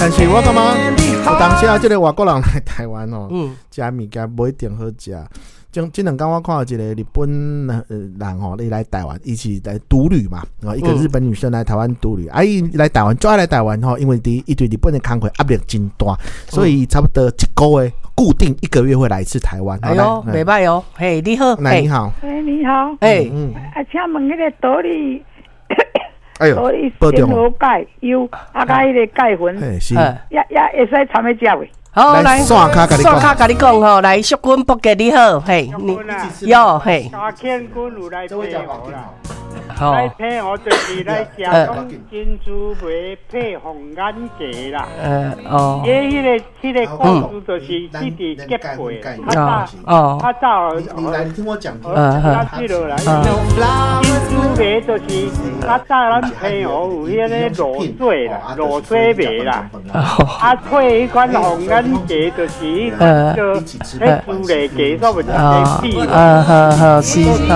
但是我感覺有當時啊，這个外國人來台灣哦，食物件無一定好食。這兩工我看到一個日本人吼，伊來台灣，伊是來獨旅嘛，啊，一個日本女生來台灣獨旅，啊，伊來台灣，最愛來台灣吼，因為佇伊對日本的工課壓力真大，所以差不多一個月固定一個月會來一次台灣。哎喲，袂䆀哦，嘿，你好，來，你好，哎，你好，哎，啊，請問彼个桃李，哎喲，桃李仙荷鈣優，啊，佮彼个鈣粉，是，也會使摻咧食袂？好，來，線跤共你線跤共你講吼，來，淑君伯傑你好，嘿，你喲嘿，嘉慶君有來批我啦，來批我就是來食講珍珠梅配紅眼雞啦。哦。伊彼个故事就是一直結配，較早，較早，你來，你聽我講。較記落來，珍珠梅就是較早咱澎湖有彼个露水啦，露水梅啦，啊，配彼款紅眼雞就是彼款叫彼豬肋雞，煞袂食得死。好好是哦。